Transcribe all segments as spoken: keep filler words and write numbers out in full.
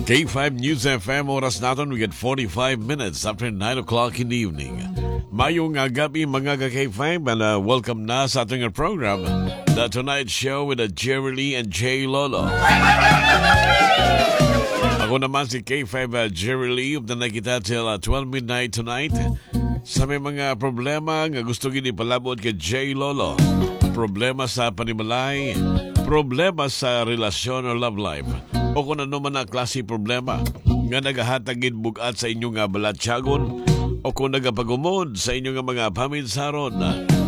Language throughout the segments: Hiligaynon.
K five News F M, oras naton, we get forty-five minutes after nine o'clock in the evening. Mayong, ah, gabi, mga ka K five, and, ah, welcome na sa ating program, The Tonight Show with, ah, Jerry Lee and Jay Lolo. Ako naman si K five, ah, Jerry Lee. Updan na kita till, ah, twelve midnight tonight. Sa may mga problema nga gusto gid ipalabot kay Jay Lolo, problema sa panimalay, problema sa relasyon or love life, o kung ano man ang klase problema nga nagahatag gid bug-at sa inyo nga balatyagon o kung nagapagumod sa inyo nga mga paminsaron,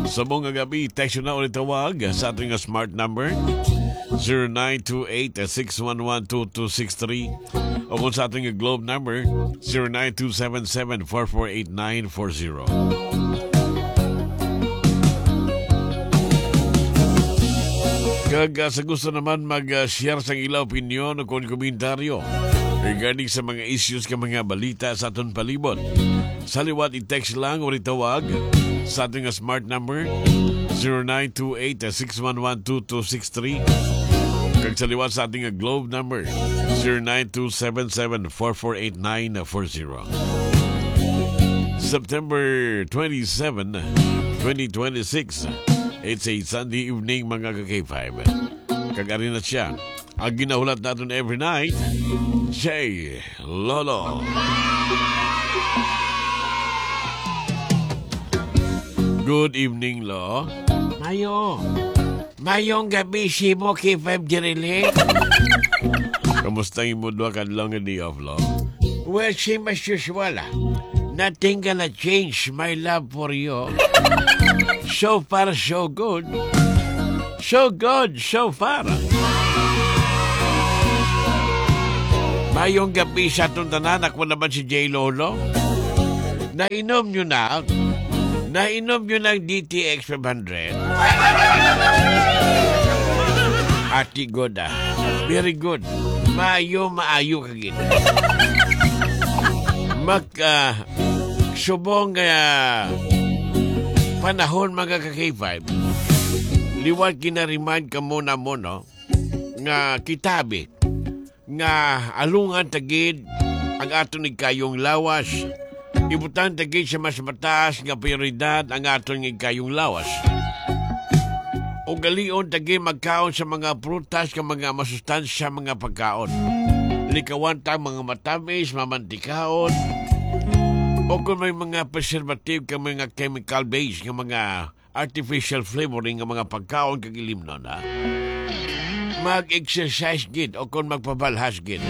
subong nga gabi, text na o tawag sa ating smart number, zero nine two eight, six one one, two two six three, o kung sa ating Globe number, zero nine two seven seven four four eight nine four zero. Kag, ah, sa gusto naman mag, ah, share sang ila opinyon o kon komentaryo regarding sa mga issues ka mga balita sa aton palibot, sa liwat i-text lang o itawag sa ating smart number, zero nine two eight, six one one, two two six three. Kag sa liwat sa ating Globe number, zero nine two seven seven four four eight nine four zero. September twenty-seven, twenty twenty-six. It's a Sunday evening, mga ka K five. Kag ari na siya, ang ginahulat naton every night, Jay Lolo. Good evening, Lo. Mayo. Mayong gabi, Simo K five Dirili. Kamusta ang imo duha ka adlaw nga day off, Lo? Well, same as usual, ah. Nothing gonna change my love for you. So far, so good. So good, so far. Mayong gabi sa aton tanan. Ako naman si Jay Lolo. Nainom nyo na? Nainom nyo ng D T X five hundred? Ati good, ah. Very good. Maayo, maayo ka gid. Mag, ah, subong nga panahon, mga ka K five, liwat gina-remind ka mo na mo, no? Nga kita, bi, nga alungan ta gid ang aton igkayong lawas. Ibutang ta gid sa mas mataas nga prioridad ang aton igkayong lawas. Ugalion ta gid magkaon sa mga prutas kag mga masustansya mga pagkaon. Likawan ta ang mga matamis, mamantikaon, o kung may mga preservative kag mga chemical base nga mga artificial flavoring nga mga pagkaon kag ilimnon, ha? Mag-exercise gid o kon magpabalhas gid.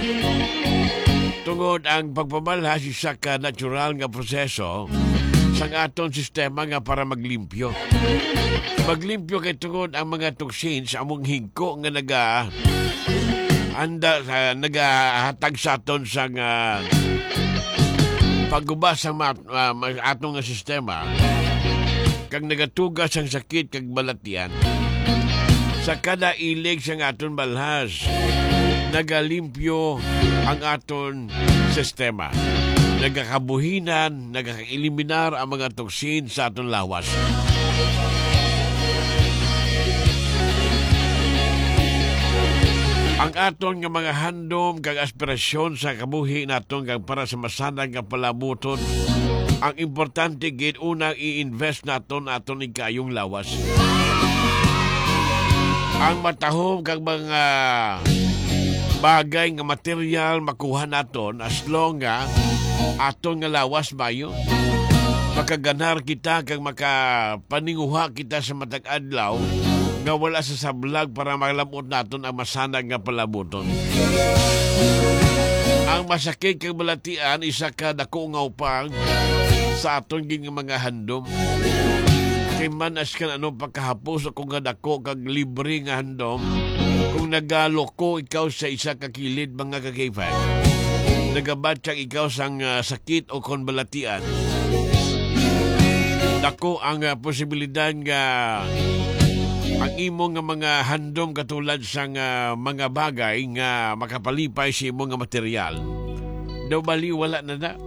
Tungod ang pagpabalhas isa ka natural nga proseso sang aton sistema nga para maglimpyo. Maglimpyo kay tungod ang mga toxins among hingko nga naga anda sa nagahatag sa aton sang, ah, pagubas sa mat-, ah, ma-, aton nga sistema, kag nagatuga sang sakit kag balatian. Sa kada ilig sang aton balhas, nagalimpyo ang aton sistema. Nagakabuhinan, nagakaeliminar ang mga toksin sa aton lawas. Ang aton nga mga handom kag aspirasyon sa kabuhi naton kag para sa masanag nga palabuton, ang importante gid unang i-invest naton aton igkayong lawas. Ang matahom kag mga bagay nga material makuha naton as long nga aton nga lawas mayo. Makaganar kita kag makapaninguha kita sa matag adlaw nga wala sa sablag para malab-ot naton ang masanag nga palabuton. Ang masakit kag balatian isa ka dako nga upang sa aton gid nga mga handom. Kay man as kan ano pagkahapos ako nga dako kag libre nga handom, kung nagaloko ikaw sa isa ka kilid, mga ka-K five, nagabatyag ikaw sang, ah, sakit o kon balatian, dako ang, ah, posibilidad nga ang imo nga mga handom katulad sang, ah, mga bagay nga makapalipay sa imo nga material, daw bali wala na na.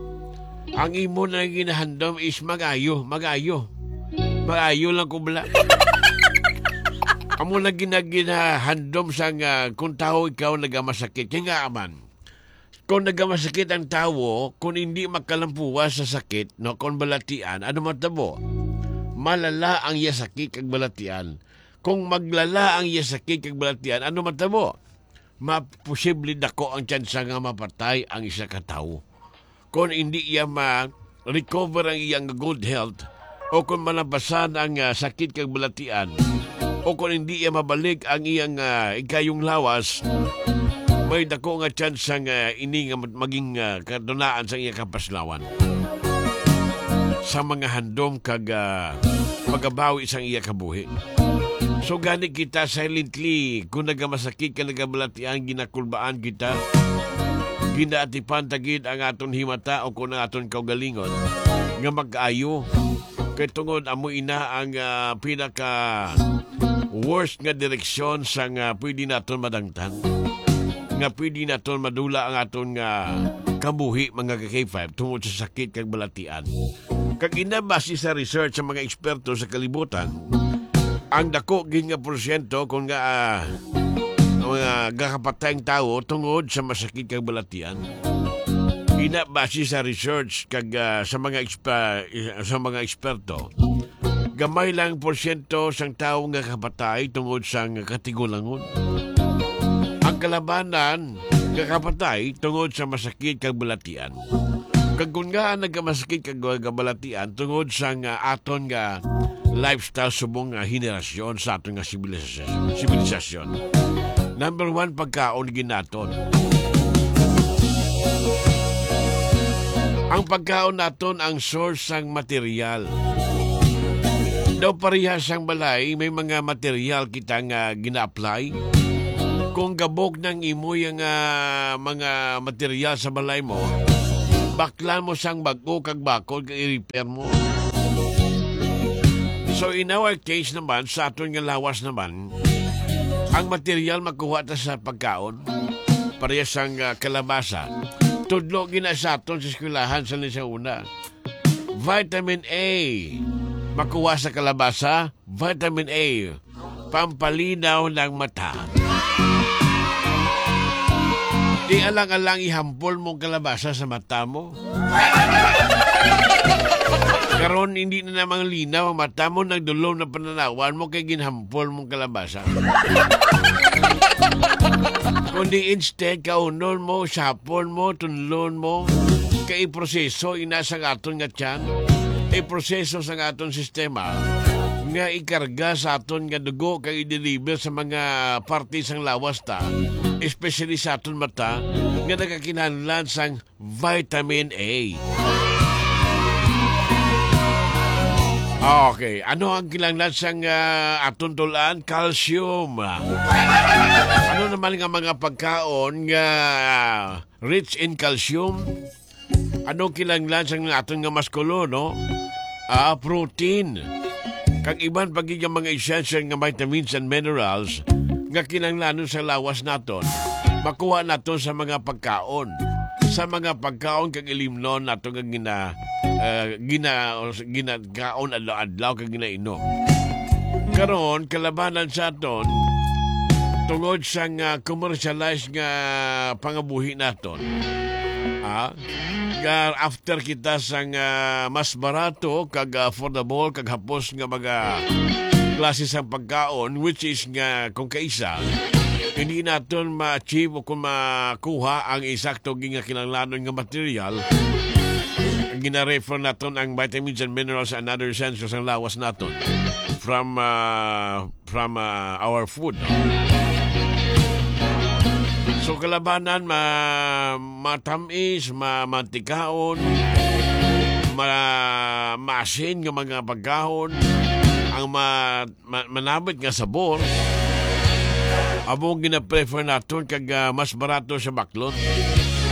Ang imo na ginahandom is mag-ayo, mag-ayo. Mag-ayo lang ko bala. Amo na gina-, ginahandom sang, ah, kung tawo ikaw nagamasakit. Kaya nga man, Kung nagamasakit ang tawo, kung hindi makalampuwa sa sakit, no, kung balatian, ano matabo? Malala ang iya sakit kag balatian. Kung maglala ang iya sakit kag balatian, ano matabo? Maposible dako ang tsansa nga mapatay ang isa ka tawo. Kung hindi iya ma-recover ang iyang good health, o kung malabasan ang, ah, sakit kag balatian, o kung hindi iya mabalik ang iyang, ah, ikayong lawas, may dako nga tsansa nga ini nga maging, ah, kadunaan sa iya kapaslawan sa mga handom kag, ah, pagabawi sang iya kabuhi. So, gani kita silently, kung nagamasakit ka, nagabalatian, ginakulbaan kita, ginaatipan ta gid ang aton himata o kung ang aton kaugalingon nga mag-ayo. Kay tungod amo ina ang, ah, pinaka worst nga direksyon sa nga pwede naton madangtan, nga pwede naton madula ang aton nga kabuhi, mga ka-K five, tungod sa sakit kag balatian. Kag ina, base sa research sa mga eksperto sa kalibutan, ang dako gid nga porsyento kung nga, ah, mga gakapatay ang tawo tungod sa masakit kag balatian. Ina, base sa research kag, ah, sa mga ekspa-, sa mga eksperto, gamay lang porsyento sang tawo nga kapatay tungod sang katigulangon. Ang kalabanan nga kapatay tungod sa masakit kag balatian. Kag kun nga nagamasakit kag kabalatian tungod sang, ah, aton nga lifestyle subong nga henerasyon sa aton nga sibilisasyon, sibilisasyon. Number one, pagkaon gid naton. Ang pagkaon naton ang source sang material. Daw parehas sang balay, may mga material kita nga gina-apply. Kung gabok nang imo yang, ah, mga material sa balay mo, baklan mo sang bag-o kag bakod kag i-repair mo. So, in our case naman, sa aton nga lawas naman, ang material makuha ta sa pagkaon. Parehas sang, ah, kalabasa. Tudlo gina sa aton sa eskwelahan sa ni sa una. Vitamin A. Makuha sa kalabasa, vitamin A. Pampalinaw ng mata. Di alang-alang ihampol mong kalabasa sa mata mo. Karon, hindi na namang linaw ang mata mo, nagdulom na pananawan mo kay ginhampol mong kalabasa. Kundi instead, kaunon mo, sapon mo, tunlon mo, kay iproseso ina sang aton nga tiyan, iproseso sang aton sistema, nga ikarga sa aton nga dugo kag i-deliver sa mga parte sang lawas ta, especially sa aton mata, nga nagakinahanglan sang vitamin A. Okay, ano ang kinahanglan sang, ah, aton tuluan? Calcium. Ano naman nga mga pagkaon nga rich in calcium? Ano kinahanglan sang aton nga muskulo, no? Ah, protein. Kag iban pa gid nga mga essential nga vitamins and minerals nga kinahanglanon sa lawas naton, makuha naton sa mga pagkaon. Sa mga pagkaon kag ilimnon nato nga gina-, ah, gina-, ginakaon adlaw-adlaw kag ginainom. Karon, kalabanan sa aton, tungod sa nga commercialized nga pangabuhi naton, ah, nga after kita sa nga mas barato kag affordable kag hapos nga mga klase sang pagkaon, which is nga kung kaisa, hindi naton ma-achieve o kung makuha ang insakto nga kinahanglanon nga material, gina-refer naton ang vitamins and minerals and other essentials sang lawas naton from, ah, from, ah, our food, no? So, kalabanan, ma-, matamis, ma-, mantikaon, ma-, maasin nga mga pagkaon, ang ma-, ma-, manabit nga sabor, amo ang gina-prefer naton kag, ah, mas barato sa baklon.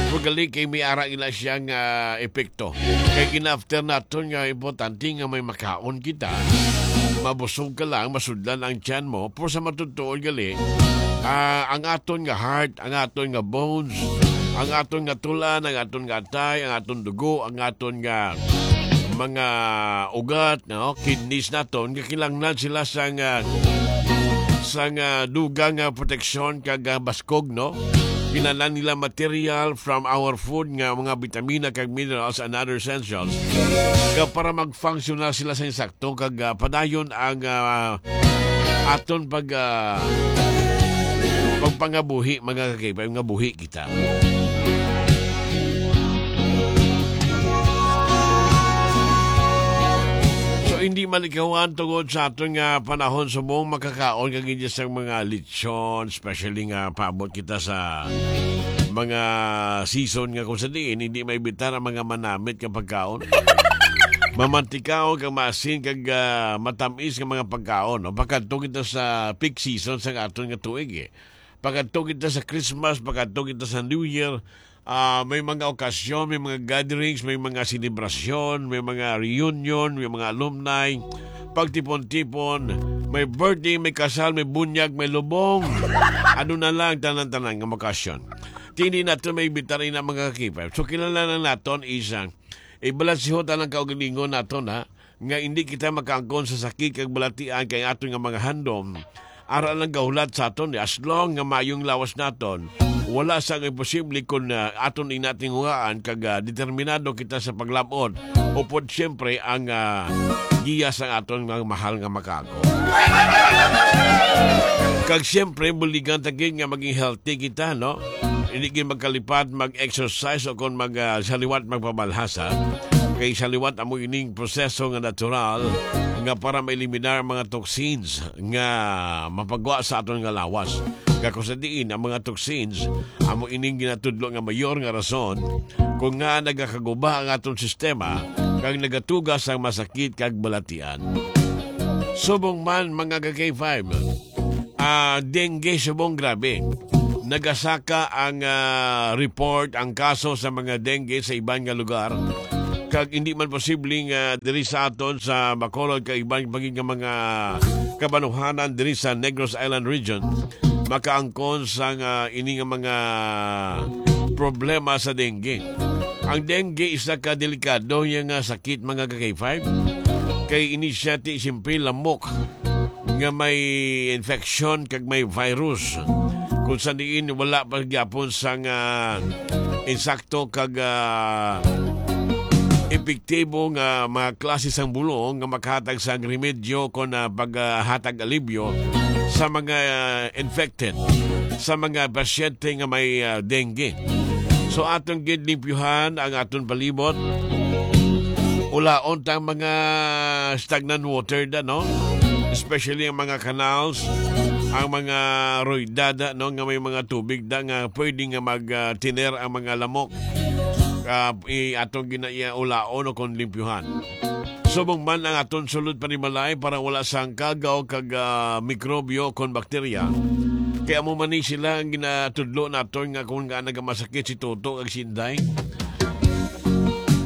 Pero gali kay may ara ila siya nga epekto. Kay gina-after naton nga importante nga may makaon kita. Mabusog ka lang, masudlan ang tiyan mo, pero sa matutuon gali, ah, ang aton nga heart, ang aton nga bones, ang aton nga tulan, ang aton nga atay, ang aton dugo, ang aton nga mga ugat, no, kidneys naton, nga kinahanglan sila sang, ah, sang, ah, dugang nga proteksyon kag, ah, baskog, no? Kinahanglan nila material from our food nga mga bitamina kag minerals and other essentials. Kag para mag-function na sila sa insakto kag, ah, padayon ang, ah, aton pag, ah, pagpangabuhi, mga kakaiba, nga buhi kita. So, hindi malikawan tungod sa aton nga panahon subong makakaon kag hindi sa mga lechon, especially nga paabot kita sa mga season nga kung sa diin hindi maibitar ang mga manamit nga pagkaon. Mamantikaon kag maasin kag, ah, matamis nga mga pagkaon, no? Pagkadto kita sa peak season sa aton nga tuig, eh. Pagkadto kita sa Christmas, pagkadto kita sa New Year, ah, may mga okasyon, may mga gatherings, may mga selebrasyon, may mga reunion, may mga alumni, pagtipon-tipon, may birthday, may kasal, may bunyag, may lubong. Ano na lang, tanan-tanan nga okasyon. Hindi naton maibitar ina, mga kakipay. So, kinahanglan naton is, ah, ibalansihon ang kaugalingon naton, ha, nga hindi kita makaangkon sa sakit kag balatian kay aton nga mga handom. Ara lang gahulat sa aton, as long nga maayong lawas naton, wala sa nga imposible kung, ah, aton inatinguhaan kag, ah, determinado kita sa paglabot. Upod siyempre ang, ah, giya sa aton mga mahal nga makako. Kag siyempre, buligan ta gid nga maging healthy kita, no? Hindi gid magkalipat mag-exercise o kon mag, ah, sa liwat magpamalhasa. Kay sa liwat amo ining proseso nga natural nga para maeliminar ang mga toxins nga mapagwa sa aton nga lawas. Kag kung sa diin ang mga toxins amo ining ginatudlo nga mayor nga rason kung nga nagakaguba ang aton sistema kag nagatugas ang masakit kag balatian. Subong man, mga ka-K five, ah, dengue subong grabe. Nagasaka ang, ah, report, ang kaso sa mga dengue sa iban nga lugar. Kag hindi man posible nga diri sa aton sa Bacolod kag iban pa gid nga mga kabanuhanan diri sa Negros Island region makaangkon sang, ah, ini nga mga problema sa dengue. Ang dengue isa ka delikado niya nga sakit, mga ka-K five. Kay ini siya ti simple lamok nga may infection kag may virus. Kung sa diin wala pa gyapon sang, ah, insakto kag, ah, epektibo nga mga klase sang bulong nga makahatag sang remedyo kon, ah, paghatag alibyo sa mga, ah, infected, sa mga pasyente nga may, ah, dengue. So, aton gid limpyuhan ang aton palibot. Ulaon ta ang mga stagnant water da, no? Especially ang mga canals, ang mga roydada, no, nga may mga tubig da nga pwede nga mag, ah, tiner ang mga lamok. Ah, i-, aton gina-, iya ulaon o kon limpyuhan. Subong man ang aton sulod panimalay para wala sang kagaw kag, ah, mikrobyo kon bakterya. Kay amo man ni sila ang ginatudlo naton nga kung nga nagamasakit si Toto kag si Inday.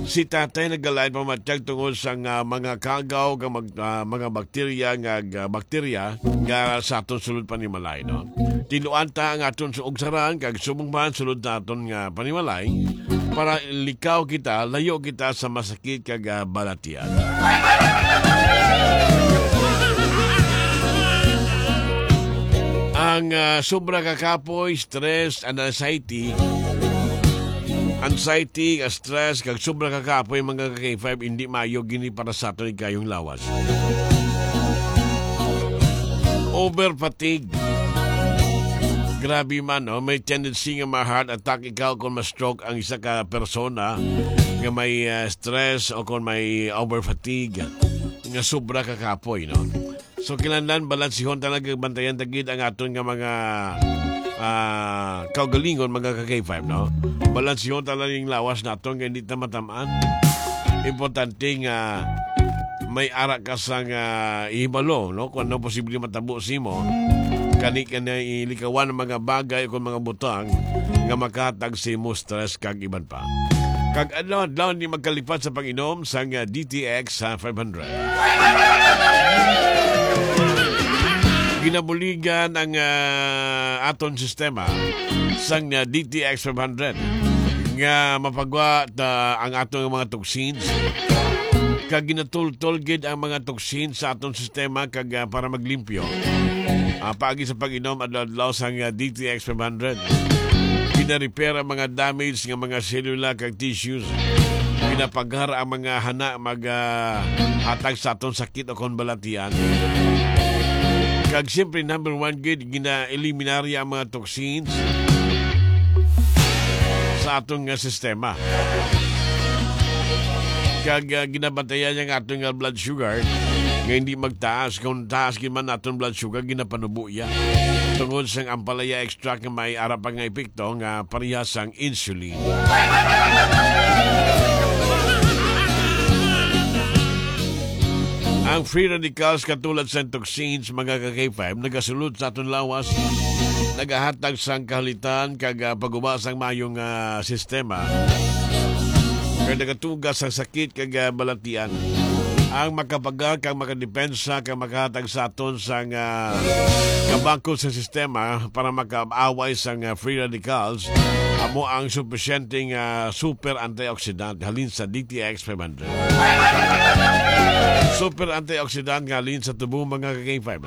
Si Tatay nagalain pamatyag tungod sa nga mga kagaw kag mag-, ah, mga bakterya nga, nga bakterya nga sa aton sulod panimalay, no? Tinuan ta ang aton suog saran kag subong man sulod naton nga panimalay para likaw kita, layo kita sa masakit kag, ah, balatian. Ang, ah, sobra ka kapoy, stress, and anxiety, anxiety, stress, kag sobra ka kapoy, mga ka-K five, hindi maayo gini para sa aton ikayong lawas. Over fatigue. Grabe man, no? May tendency nga ma-heart attack ikaw kung ma-stroke ang isa ka persona nga may, ah, stress o kung may over fatigue nga sobra ka kapoy, no? So, kinahanglan balansihon talaga, bantayan ta gid ang aton nga mga, ah, kaugalingon, mga ka-K five, no? Balansihon talaga yung lawas naton nga hindi ta matamaan. Importante nga may ara ka sang, ah, ihibalo, no? Kung ano posible matabo sa imo, kani ka na ilikawan ang mga bagay o kung mga butang nga makahatag sa imo stress kag iban pa. Kag adlaw-adlaw ni magkalipat sa pag-inom sang, ah, D T X, ah, five hundred. Ginabuligan ang, ah, aton sistema sang, ah, D T X five hundred nga mapagwa ta ang aton mga toxins. Kag ginatultol gid ang mga toxins sa aton sistema kag, ah, para maglimpyo, ah, paagi sa pag-inom adlaw-adlaw sang, ah, D T X five hundred. Gina-repair ang mga damage nga mga selula kag tissues. Ginapagar ang mga hana mag, ah, hatag sa aton sakit o kon balatian. Kag siyempre, number one gid, gina-eliminarya ang mga toxins sa aton nga sistema. Kag, ah, ginabantayan niya ang aton nga blood sugar nga hindi magtaas. Kung taas gid man aton blood sugar, ginapanubo iya tungod sang ampalaya extract nga may ara pa nga epekto nga parehas sang insulin. Ang free radicals, katulad sang toxins, mga ka-K five, nagasulod sa aton lawas, nagahatag sang kahalitan kag, ah, pagguba sang maayong, ah, sistema, kag nagatuga sang sakit kag, ah, balatian. Ang makapagar kag makadepensa kag makahatag sa aton sang, ah, kabangko sa sistema para makaaway sang, ah, free radicals amo ang supisyenteng, ah, super antioxidant halin sa D T X five hundred. Super antioxidant nga halin sa tubo, mga ka-K five.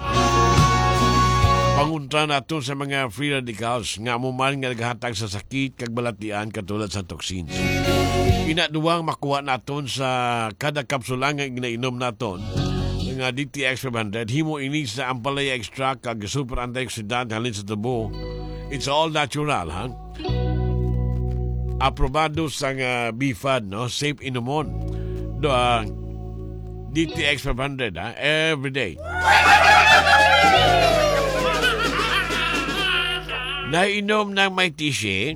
Pangontra naton sa mga free radicals nga amo man nga naghatag sa sakit kag balatian, katulad sa toxins. Ina, duwang makuha naton sa kada kapsula nga ginainom naton nga D T X five hundred, himo ini sa ampalaya extract kag super antioxidant halin sa tubo. It's all natural, ha? Aprobado sang, ah, BFAD, no? Safe inumon. Do, ah, D T X five hundred, ha? Every day. Nainom ng may tisi.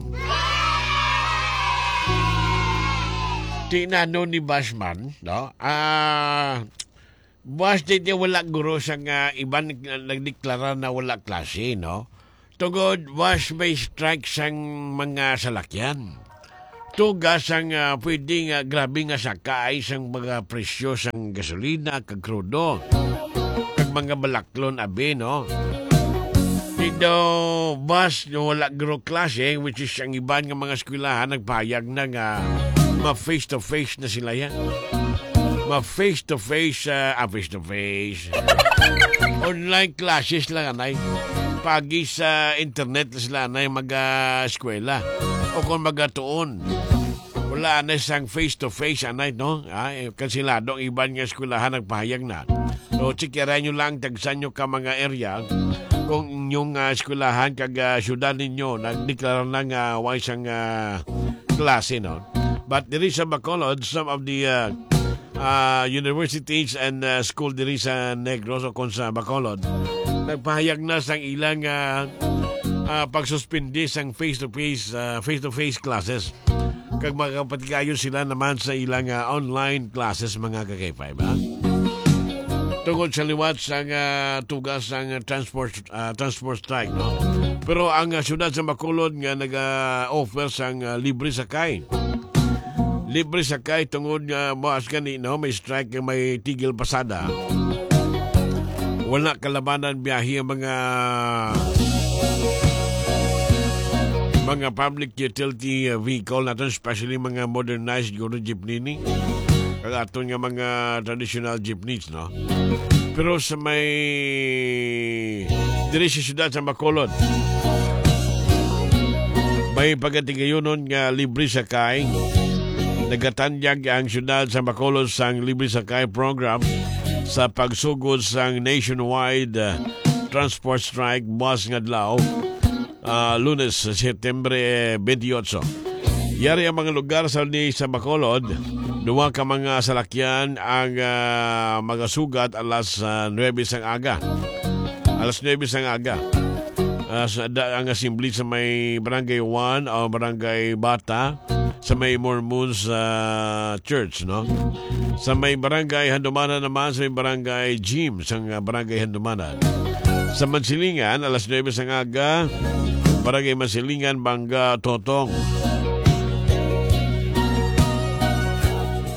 Tinano ni Bashman, no? Ah, Buwas di, di wala guro sa nga iban nag-, nagdeklara na wala klase, no? Tungod, buwas may strike sang mga salakyan. Tuga sang, ah, pwede nga grabe nga saka ay sang mga presyo sang gasolina kag krudo, kag mga balaklon, abi, no? Di daw, buwas nga wala guro klase, which is ang iban nga mga eskwelahan nagpahayag na nga ma-face to face na sila yan. Ma-face to face, ah, ah, face to face. Online classes lang, anay. Pagi sa internet na sila, anay, mag-eskwela. O kung magatuon. Wala, anay, sang face to face, anay, no? Ah, eh, kansilado ang iban nga eskwelahan nagpahayag na. So, checkeran nyo lang, tagsan nyo ka mga area kung inyong, ah, eskwelahan kag, ah, syudad ninyo nagdeklara na nga way sang, ah, klase, no? But diri sa Bacolod, some of the, uh, uh, universities and, uh, school diri sa Negros o kon sa Bacolod, nagpahayag na sang ilang, uh, uh, pagsuspindi sang face-to-face, uh, face-to-face classes. Kag makapatigayon sila naman sa ilang, uh, online classes, mga ka-K five, ha? Tungod sa liwat sang, uh, tugas sang, uh, transport ah, transport strike, no? Pero ang, ah, siyudad sa Bacolod nga naga-offer sang, ah, libre sakay. Libre sakay tungod nga buwas gani, no, may strike nga may tigil pasada. Wala kalabanan biyahe ang mga, mga public utility, ah, vehicle naton, especially mga modernized guro jeepney ni. Kag aton nga mga traditional jeepneys, no? Pero sa may, diri sa siyudad sa Bacolod, may pagatigayunon nga libre sakay. Nagatanyag ang siyudad sa Bacolod sang libre sakay program sa pagsugod sang nationwide, uh, transport strike buwas nga adlaw, ah, Lunes, Setyembre twenty-eight. Yari ang mga lugar sa ni sa Bacolod, duha ka mga salakyan ang, ah, magasugat alas, ah, nuebe sang aga. Alas nuebe sang aga. Ah, sa, da, ang assembly sa may Barangay One o Barangay Bata, sa may Mormons, ah, Church, no? Sa may Barangay Handumanan naman, sa may Barangay Gym, sa, ah, Barangay Handumanan. Sa Mansilingan, alas nuebe sang aga, Barangay Mansilingan, Banga, Totong.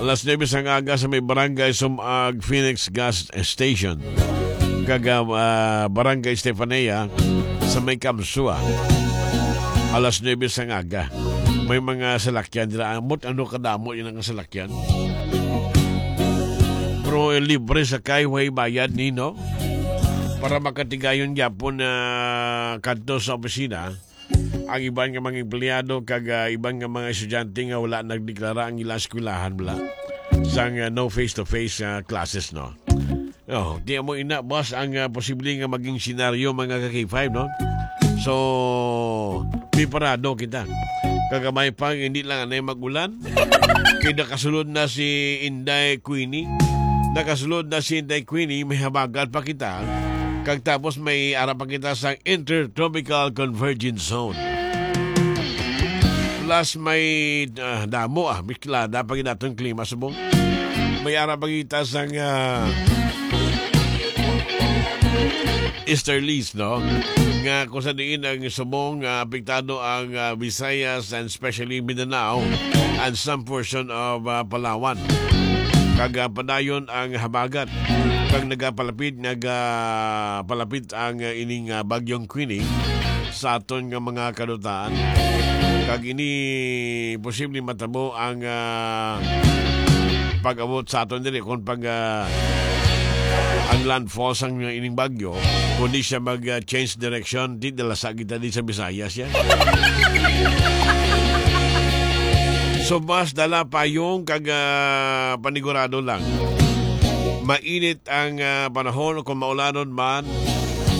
Alas nuebe sang aga sa may Barangay Sumag, Phoenix Gas Station. Kag, ah, Barangay Estefania sa may Kamsua. Alas nuebe sang aga. May mga salakyan dira. Ambot ano kadamo yun ang salakyan. Pero, eh, libre sakay, way bayad ni, no? Para makatigayon gyapon na kadto sa opisina, ang iban nga mga empleyado kag, ah, iban nga mga estudyante nga wala nagdeklara ang ilang eskwelahan, bala, sang, ah, no face-to-face, ah, classes, no? Oh, di mo ina, boss, ang, ah, posible nga maging senaryo, mga ka-K five, no? So, preparado kita. Kagamay pa, hindi lang anay mag-ulan. Kay nakasulod na si Inday Queenie. Nakasulod na si Inday Queenie, may habagat pa kita. Kag tapos may ara pa kita sa Intertropical Convergence Zone. Plus may, ah, damo, ah, biklada pa gid aton klima subong. May ara pa kita sang, ah, easterlies, no? Nga kung sa diin ang subong, ah, apektado ang, ah, Visayas and especially Mindanao and some portion of, ah, Palawan. Kag, ah, padayon ang habagat. Kag nagapalapit, nagapalapit ang, ah, ining, ah, bagyong Queenie sa aton nga mga kadutaan. Kag ini posible matabo ang, ah, pag-abot sa aton diri kung pag, ah, ang landfall sang ining bagyo, kundi siya mag, ah, change direction, di dalasa kita di sa Visayas yan. So, mas dala payong kag, ah, panigurado lang. Mainit ang, ah, panahon kung maulanon man.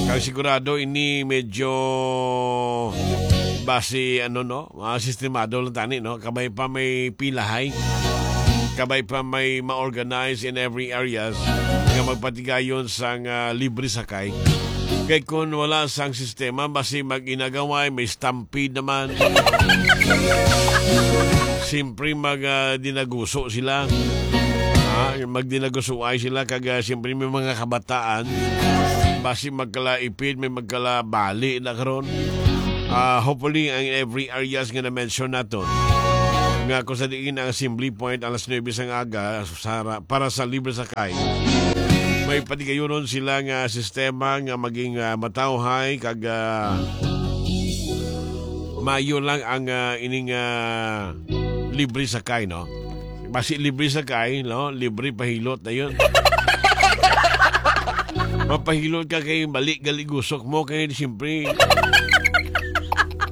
Kag sigurado ini medyo basi, ano, no? Ah, sistemado lang tani, no? Kabay pa may pilahay. Kabay pa may ma-organize in every areas nga magpatigayon sang, ah, libre sakay. Kay kung wala sang sistema, basi mag-inagaway, may stampede naman. Siyempre, mag, ah, dinaguso sila. Ah, magdinagusuay sila kag, ah, siyempre may mga kabataan. Basi magkalaipid, may magkalabali na karon. Ah, hopefully, ang every areas nga na-mention naton, nga kung sa diin ang assembly point alas nuebe sang aga sa, para sa libre sakay, may patigayunon sila nga sistema nga maging, ah, matawhay kag, ah, maayo lang ang, ah, ining, ah, libre sakay, no? Basi libre sakay, no? Libre pahilot na yun. Mapahilot ka kay mali gali gusok mo kay siyempre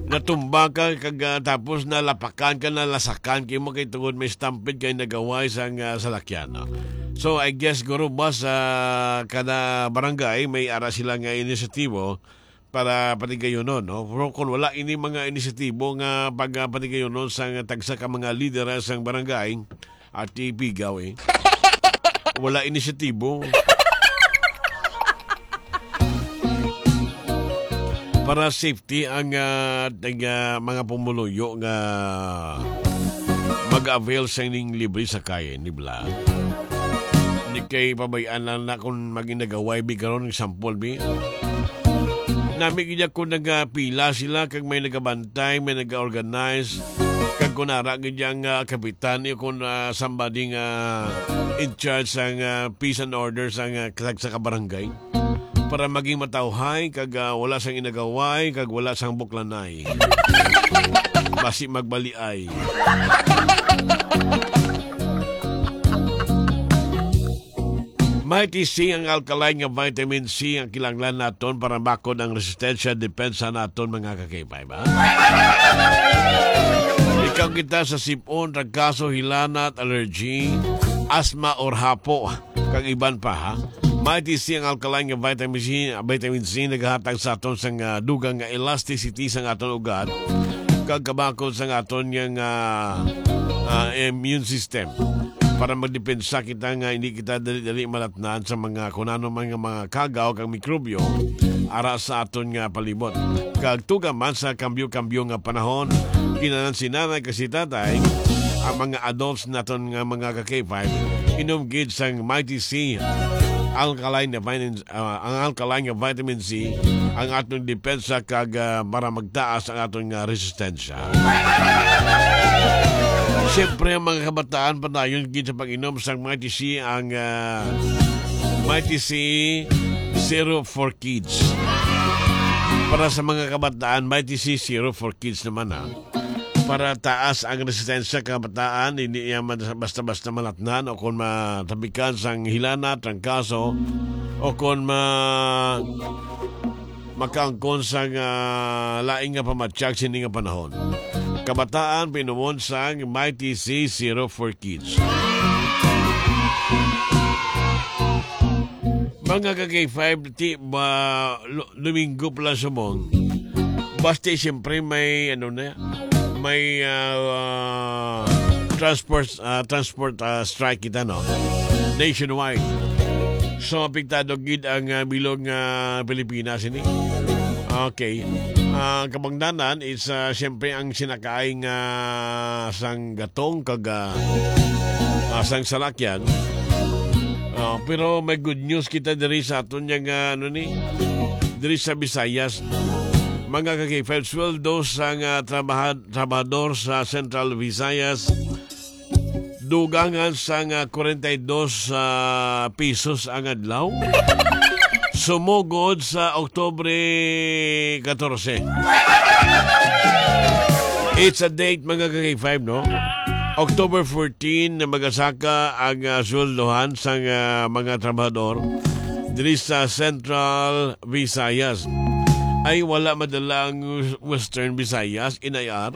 natumba ka kag, ah, tapos nalapakan ka, nalasakan kay mo kay tungod may stampede kay nagaway sang, ah, salakyan, no? So, I guess, guro, boss, sa kada barangay may ara sila nga inisyatibo para patigayunon, no? Pero kung wala ini mga inisyatibo nga pag, ah, patigayunon sang tagsa ka mga lideres sang barangay, at ipigaw, eh. Wala inisyatibo. Para safety ang, ah, tag, ah, mga pumuluyo nga mag-avail sa ining libre sakay, di ba? Di kay pabayaan lang na kung maging nagaway, bi, karon, example, bi. Nami gid ako nagapila sila, kag may nagabantay, may nag-organize, kag kung ara gid ang, ah, kapitan, iyo kung, ah, somebody nga in charge sang, ah, peace and order sang, ah, kag sa kabarangay, para maging matawhay, kag, ah, wala sang inagaway, kag wala sang buklanay. Basi magbaliay. Mighty C ang alkaline nga vitamin C ang kinahanglan naton para bakod ang resistensya, depensa naton, mga ka-K five, ha? Ikaw kita sa sipon, trangkaso, hilanat, allergy, asthma, or hapo, kag iban pa, ha? Mighty C ang alkaline nga vitamin C, vitamin C nagahatag sa aton sang, ah, dugang nga elasticity sang aton ugat, kag kabakod sang aton nga, ah, ah, immune system. Para magdepensa kita nga hindi kita dali-dali malatnan sa mga kung ano man nga mga kagaw kag mikrobyo ara sa aton nga palibot. Kag tuga man sa kambyo-kambyo nga panahon, kinahanglan si nanay kag si tatay, ang mga adults naton nga mga ka-K five, inom gid sang Mighty C, alkaline na vitamin, ah, ang alkaline nga vitamin C, ang aton depensa kag, ah, para magtaas ang aton nga resistensya. Siyempre, ang mga kabataan, padayon gid sa pag-inom sang Mighty C, ang, ah, Mighty C Syrup for Kids. Para sa mga kabataan, Mighty C Syrup for Kids naman, ha. Para taas ang resistensya kabataan, hindi niya man basta-basta malatnan o kung matapikan sang hilana, trangkaso, o kung ma-, makaangkon sang, ah, lain nga pamatyag sini nga panahon. Kabataan, pinumon sang Mighty C Zero for Kids. Mga ka-K five, ti, ba, lu-, Domingo pa lang subong. Basta siyempre may, ano na, may, ah, transport, ah, transport, ah, strike kita, no? Nationwide. So, apektado gid ang, ah, bilog nga Pilipinas ini. Okay. Ah, kabangdanan is, ah, siyempre ang sinakaay nga sang gatong kag, ah, ah, sang salakyan. Ah, pero may good news kita diri sa aton yang, ah, ano ni, diri sa Visayas. Mga ka-K five, sweldo sang, ah, trabaha-, trabahador sa Central Visayas, dugangan sang, ah, kwarenta y dos, ah, pesos ang adlaw. Sumugod sa Oktubre katorse. It's a date, mga ka-K five, no? October fourteen na magasaka ang, ah, sweldohan sang, ah, mga trabahador diri sa Central Visayas. Ay, wala madala ang Western Visayas, N I R.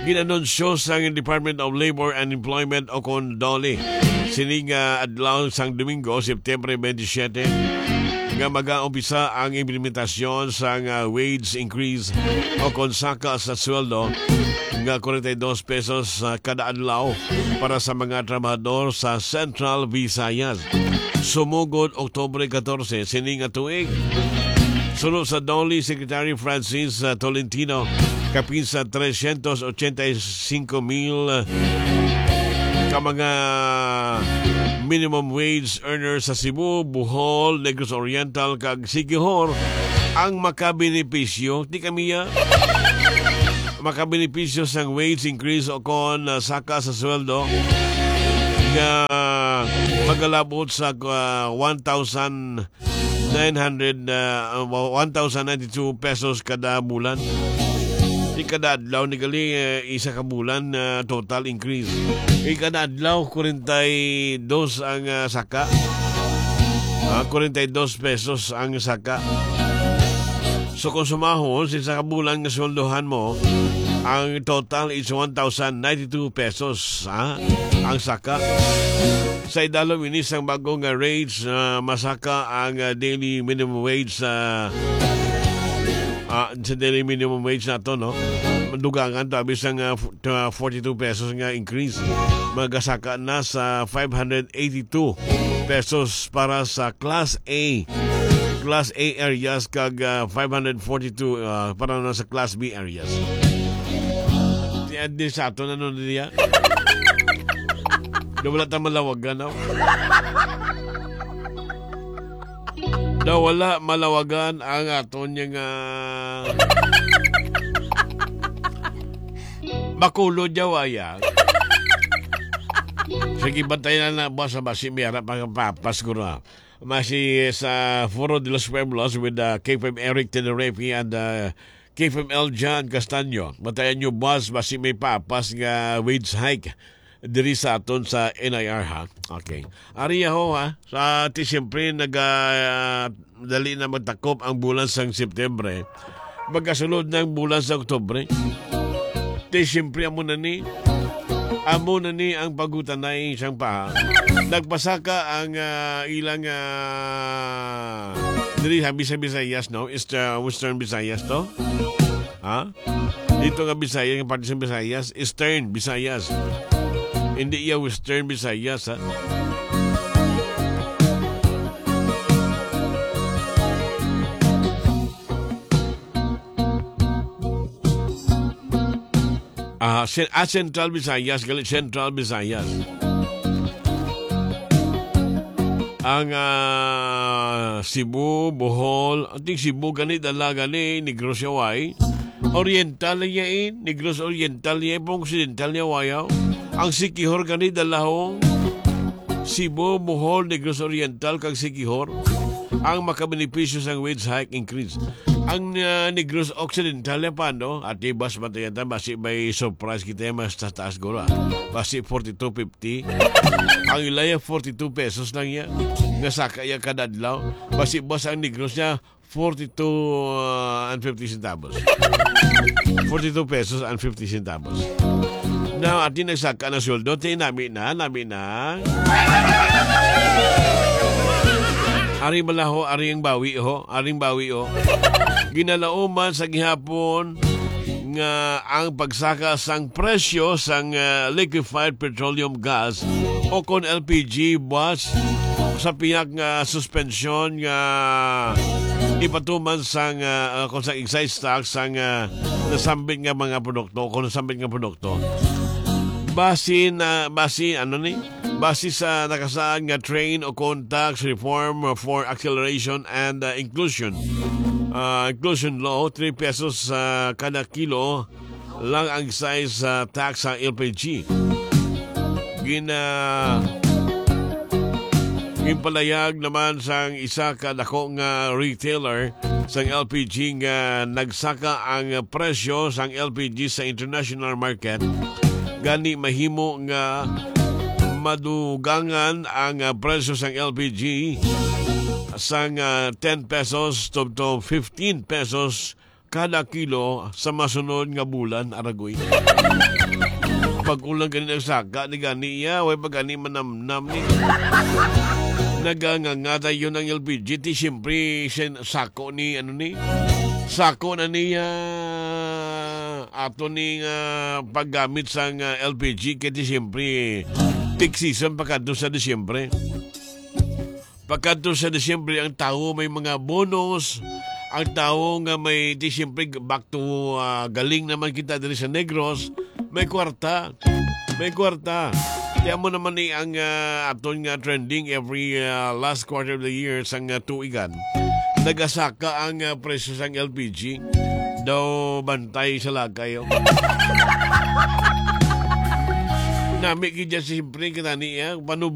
Ginanunsyo sang Department of Labor and Employment o kon DOLE sini nga adlaw sang Domingo, September twenty-seven, nga magaumpisa ang implementasyon sang, ah, wage increase o kon saka sa sweldo nga kwarenta y dos pesos, ah, kada adlaw para sa mga trabahador sa Central Visayas. Sumugod Oktubre katorse sini nga tuig. Suno sa DOLE Secretary Francis, ah, Tolentino, kapin sa trescientos ochenta y cinco mil ka mga minimum wage earners sa Cebu, Bohol, Negros Oriental, kag Siquijor ang makabenepisyo. Di kami, ah, makabenepisyo sang wage increase o kon, ah, saka sa sweldo nga magalabot sa, ah, one thousand nine hundred, ah, one thousand ninety-two pesos kada bulan. Di kada adlaw ni gali, eh, isa ka bulan, ah, total increase. Di kada adlaw, kwarenta y dos ang, ah, saka. Ah, kwarenta y dos pesos ang saka. So, kung sumahon sa isa ka bulan nga sweldohan mo, ang total is one thousand ninety-two pesos, ha? Ang saka. Sa idalom ini sang bago nga rates, ah, masaka ang, ah, daily minimum wage sa, ah, sa daily minimum wage nato, no? Dugangan to, abi sang, ah, f-, ah, forty-two pesos nga increase. Magasaka na sa five hundred eighty-two pesos para sa Class A, Class A areas kag, ah, five hundred forty-two, ah, para na sa Class B areas. Di, di sa ato na nun niya. Na wala ta malawagan, no? Na wala malawagan ang aton nga, ah, Bacolod, Jawaya. Sige, bantayan na, boss, basi may ara pa papas ko na. Masi sa Foro de los Pueblos with, uh, K five Eric Tenerife and, uh, K five L John Castaño. Bantayan nyo, boss, basi may papas nga wage hike diri sa aton sa N I R, ha? Okay. Ari ho, ha? Sa ti siyempre, nag, ah, dali na magtakop ang bulan sang September. Magkasulod na ang bulan sa Oktubre. Ti siyempre, amo na ni. Amo na ni ang pagutanay sang pa. Nagpasaka ang, ah, ilang, ah, diri sa Bisa-, Visayas, no? East, ah, Western Visayas to. Ha? Dito nga Bisaya, yung parte sa Visayas, Eastern Visayas. Hindi iya Western Visayas, ha? Ah, Cen-, ah, Central Visayas, gali, Central Visayas. Ang, ah, Cebu, Bohol, ang ting Cebu gani, dala gani, Negros Yaway. Oriental niya, eh, Negros Oriental niya, eh, pang Occidental niya, wayaw. Ang Siquijor gani, dalahong Cebu, Bohol, Negros Oriental, kag Siquijor ang makabenepisyo sang wage hike increase. Ang, ah, Negros Occidental, eh, paano? At di bas matayatan, basi may surprise kita, mas tataas guro, ah. Basi forty-two fifty. Ang ilaya, forty-two pesos lang yan. Nga saka iya kada adlaw. Basi bas ang Negros niya, forty-two, ah, and fifty centavos. Forty-two pesos and fifty centavos. Now, atin nagsaka na sweldo, ti nami na, nami na. Ari malaho, ari ang bawi, ho. Ari ang bawi, ho. Ginalauman sa gihapon nga ang pagsaka sang presyo sang, ah, liquefied petroleum gas o kon L P G buwas sa pihak nga suspensyon nga ipatuman sang, ah, ah, kon sa excise tax sang, ah, nasambit nga mga produkto, kon nasambit nga produkto. Basi na, basi, ano ni? Base sa nakasaad nga train o kon tax reform for acceleration and, uh, inclusion, uh, inclusion law, three pesos sa kada kilo lang ang excise, uh, tax sa L P G. Gina-, ginpalayag naman sang isa ka dako nga retailer sang L P G nga nagsaka ang presyo sang L P G sa international market. Gani mahimo nga madugangan ang, ah, presyo sang L P G sang, ah, ten pesos tubtob fifteen pesos kada kilo sa masunod nga bulan, aragoy. Pag-ulang gani nagsaka ni gani iya, way pa gani manamnam ni. Nagangangata yun ang L P G, ti siyempre, sin-, sako ni, ano ni? Sako na niya ato ni nga paggamit sang, ah, L P G, kay ti siyempre, peak season pa kadto sa Disyembre. Pagkadto sa Disyembre, ang tawo may mga bonus. Ang tawo nga may, di siyempre, back to, ah, galing naman kita diri sa Negros. May kwarta. May kwarta. Kaya mo naman ni ang, ah, aton nga trending every, ah, last quarter of the year sang, ah, tuigan. Nagasaka ang, ah, presyo sang L P G. Daw bantay sa lakay, oh. Nami gid siya siyempre kita niya. Panubo